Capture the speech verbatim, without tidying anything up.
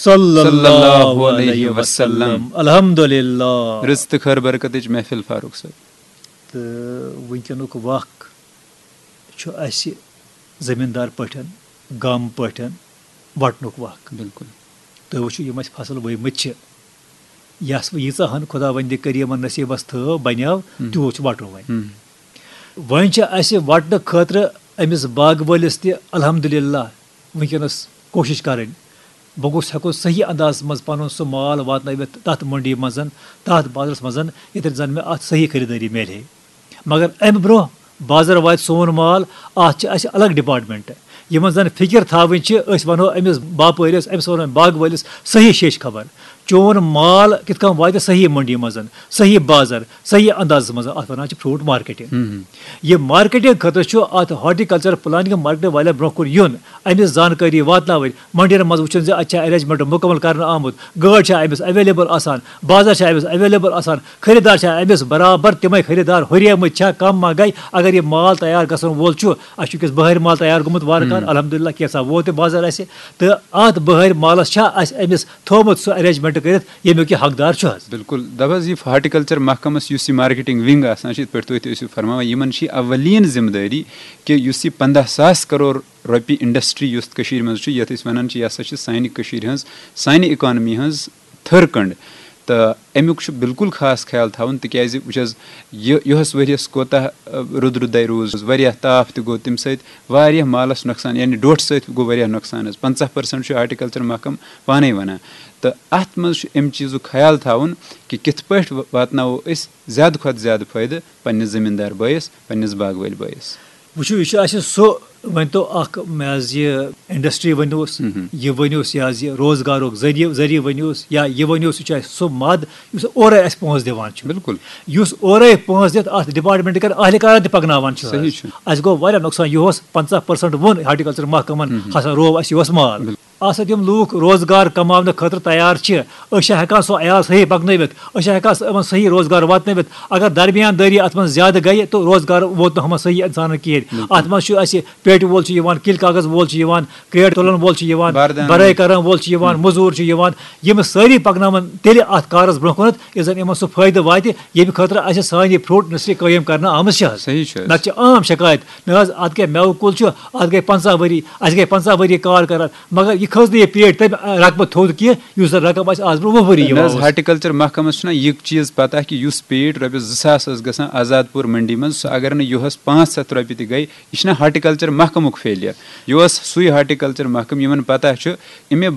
صلی صلی اللہ اللہ علیہ علیہ وسلم۔ وسلم۔ الحمدللہ۔ رٕژ تہٕ خٲر برکتٕچ محفل فاروق صٲب۔ تہٕ وٕنکیٚنُک وق چھُ اَسہِ زٔمیٖندار پٲٹھۍ، گام پٲٹھۍ وَٹنُک وق۔ بِلکُل۔ تُہۍ وٕچھِو، یِم اَسہِ فصل ؤومٕتۍ چھِ، یَس وۄنۍ ییٖژاہ ہَن خۄداوندِ کٔر یِمَن نصیٖبَس تھٲو، بَنیو، ہم۔ تیوٗت چھُ وَٹُن وۄنۍ۔ ہم۔ وۄنۍ چھِ اَسہِ وَٹنہٕ خٲطرٕ أمِس باغہٕ وٲلِس تہِ الحمدللہ وٕنکیٚنَس کوٗشِش کَرٕنۍ۔ بہٕ گوٚژھ ہٮ۪کُن صحیح اندازَس منٛز پَنُن سُہ مال واتنٲوِتھ تَتھ مٔنڈی منٛز، تَتھ بازرَس منٛز، ییٚتٮ۪تھ زَن مےٚ اَتھ صحیح خریٖدٲری میلہِ ہے۔ مگر اَمہِ برونٛہہ بازر واتہِ سون مال، اَتھ چھِ اَسہِ الگ ڈپارٹمنٹ۔ یِمن زَن فِکر تھاوٕنۍ چھِ، أسۍ وَنو أمِس باپٲرِس، أمِس وَنو أمۍ باغہٕ وٲلِس صحیح شیٚچھ خبر۔ چون مال کِتھ کٔنۍ واتہِ صحیح مٔنڈی منٛز، صحیح بازر، صحیح اندازَس منٛز، اَتھ وَنان چھِ فروٹ مارکیٹنگ۔ ہم۔ یہِ مارکیٹنگ خٲطرٕ چھُ اَتھ ہارٹیکلچر پلاننگ مارکیٹنگ والٮ۪ن برونٛہہ کُن یُن، اَمِچ زانکٲری واتناوٕنۍ، مٔنڈین منٛز وٕچھُن زِ اَتہِ چھا ارینجمنٹ مُکمل کرنہٕ آمُت، گٲڑۍ چھا أمِس اویلیبل آسان، بازر چھا أمِس اویلیبل آسان، خریدار چھا أمِس برابر تِمے خریدار ہُریمٕتۍ چھا، کم ما گٔے۔ اگر یہِ مال تیار گژھن وول چھُ، اَسہِ چھُ وٕنکیٚس بہارِ مال تیار گوٚمُت وارٕ کارٕ، ہم۔ الحمدللہ کینٛژھا ووت تہِ بازر اَسہِ، تہٕ اَتھ بہارِ مالس چھا اَسہِ أمِس تھوٚومُت سُہ ارینجمنٹ کٔرِتھ، ییٚمیُک یہِ حقدار چھُ حظ۔ بِلکُل۔ دَپ حظ، یہِ ہارٹیکلچر محکمس یُس یہِ مارکیٹنگ ونگ آسان چھِ، یِتھ پٲٹھۍ تُہۍ تہِ ٲسِو فرماوان، یِمن چھِ یہِ اولین ذمہٕ دٲری کہِ یُس یہِ پنٛداہ ساس کرور رۄپیہِ انڈسٹری یُس کٔشیٖرِ منٛز چھُ، یَتھ أسۍ وَنان چھِ، یہِ ہسا چھِ سانہِ کٔشیٖرِ ہٕنٛز، سانہِ اکانمی ہٕنٛز تھٔر کنڈ۔ تہٕ اَمیُک چھُ بِلکُل خاص خیال تھاوُن، تِکیازِ وٕچھ حظ، یہِ یُہس ؤریَس کوتاہ، اَ، رُد رُدَے روٗز، واریاہ تاپھ تہِ گوٚو تَمہِ سۭتۍ، واریاہ مالَس نۄقصان، یعنی ڈوٹھ سۭتۍ گوٚو واریاہ نۄقصان حظ۔ پنٛژاہ پٔرسنٛٹ چھُ ہارٹیکلچر محکمہٕ پانَے وَنان۔ تہٕ اَتھ منٛز چھُ اَمہِ چیٖزُک خیال تھاوُن کہِ کِتھ پٲٹھۍ وا-، واتناوو أسۍ زیادٕ کھۄتہٕ زیادٕ فٲیدٕ پنٛنِس زٔمیٖندار بٲیِس، پنٛنِس باغہٕ وٲلۍ بٲیِس۔ وٕچھِو، یہِ چھُ اَسہِ سُہ، ؤنۍ تو اَکھ، مےٚ حظ یہِ انڈسٹری ؤنِو، مہم۔ یہِ ؤنِو، یہِ حظ یہِ روزگارُک ذٔریعہٕ، ذٔریعہٕ ؤنِو، یا یہِ ؤنِو، سُہ چھُ اَسہِ سُہ مد یُس اورَے اَسہِ پونٛسہٕ دِوان چھُ۔ بِلکُل۔ یُس اورَے پونٛسہٕ دِتھ اَتھ ڈپارٹمنٹ کَرِ اہلکارَن تہِ پَکناوان چھُ حظ۔ صحیح چھُ۔ اَسہِ گوٚو واریاہ نۄقصان، یُہُس پنٛژاہ پٔرسنٛٹ ووٚن ہارٹیکلچر محکمَن، مہم۔ ہسا روو اَسہِ یُہُس مال۔ بِلکُل۔ اَتھ سۭتۍ یِم لوٗکھ روزگار کماونہٕ خٲطرٕ تیار چھِ، أسۍ چھا ہٮ۪کان سُہ عیال صحیح پَکنٲوِتھ؟ أسۍ چھا ہٮ۪کان سُہ یِمَن صحیح روزگار واتنٲوِتھ؟ اگر درمیان دٲری اَتھ منٛز زیادٕ گٔیہِ، تہٕ روزگار ووت نہٕ ہُمَن صحیح اِنسانَن کِہیٖنۍ۔ بِلکُل۔ اَتھ منٛز چھُ اَسہِ پیٹہِ وول چھُ یِوان، کِلۍ کاغذ وول چھُ یِوان، کرٛیٹ تُلَن وول چھُ یِوان، باردان۔ بَرٲے کَرَن وول چھُ یِوان، مٔزوٗر چھُ یِوان۔ یِم سٲری پَکناوَن تیٚلہِ اَتھ کارَس برونٛہہ کُنَتھ، یُس زَن یِمَن سُہ فٲیدٕ واتہِ، ییٚمہِ خٲطرٕ اَسہِ سانہِ فروٹ انڈسٹری قٲیِم کرنہٕ آمٕژ چھِ حظ۔ صحیح چھُ حظ۔ نَتہٕ چھِ عام شکایت، نہ حظ، اَتھ کیٛاہ مٮ۪وٕ کُل چھُ، اَتھ گٔے پنٛژاہ ؤری، اَسہِ گٔے پنٛژاہ ؤری کار کران، مگر یہِ کھٔژ نہٕ یہِ پیٹہِ تَمہِ رقمہٕ تھوٚد کینٛہہ، یُس زَن رقم اَسہِ آز برونٛہہ وُہ ؤری نہ حظ، یِوان اوس۔ ہارٹیکلچر محکمس چھُنہ یہِ چیٖز پتہ کہِ یُس پیٹ رۄپیَس زٕ ساس ٲس گژھان آزاد پوٗر منڈی منٛز، سُہ اگر نہٕ یُہس پانٛژھ ہَتھ رۄپیہِ تہِ گٔے، یہِ چھُنہ ہارٹیکلچر محکمُک فیلیر۔ یہِ اوس سُے ہارٹیکلچر محکمہٕ، یِمن پتہ چھُ، اَمے